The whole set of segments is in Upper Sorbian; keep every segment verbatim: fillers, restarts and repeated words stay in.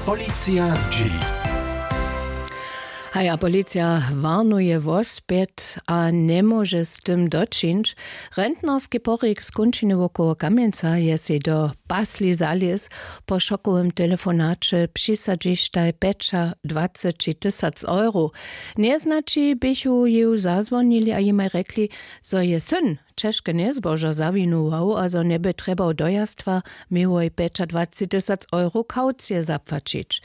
Policija zdźěli. Haja, policija warnuje wospjet a njemóže z tym dočińć. Rentnerski porik z kónčiny wokoło kamjenca je sej do pasli zalěz. Po šokowym telefonaće přisadźištaj pjećadwaceći tysac euro. Njeznaći běchu jeju zazwonili a jimaj rjekli, zo je syn ćežke njezbožo zawinuwał a zo njeby trjebał dojaztwa, měłoj pjećadwaceći tysac euro kaucije zapłaćić.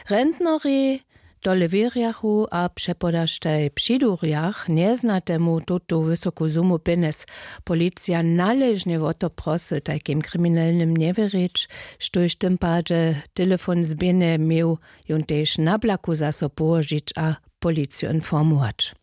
Rentnori tole wěrjachu a přepodaštaj při durjach njeznatemu tutu wysoku sumu pjenjez. Policija naležnje wo to prosy tajkim kriminelnym njewěrić, štóž w tym padźe telefon zběhne měł, jón tež na blaku zaso połožić a policiju informować.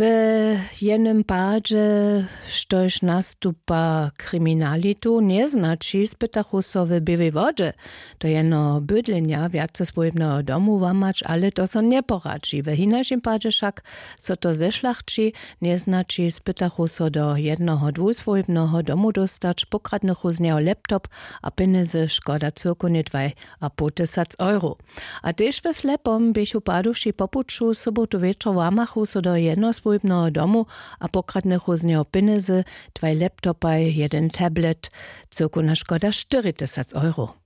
We jenym padźe, štož nastupa kriminalitu njeznaći, spytachu so w běłej wodźe do jeno bydlenja wjaceswójbneho domu łamać, ale to so njeporadźi. We hinašim padźe wšak so to zešlachći. Njeznaći spytachu so do jednoho dwójswójbneho domu dóstać pokradnychu z njeho laptop a pjenjezy škoda cyrkownje dwaj a pół tysac euro. A tež we slepom běchu paduši po puću sobotu wječor łamachu so do jednoswójbneho domu a pokradnychu z njeho pjenjezy, dwaj laptopaj, jeden tablet, cyrkowna škoda štyri tysac euro.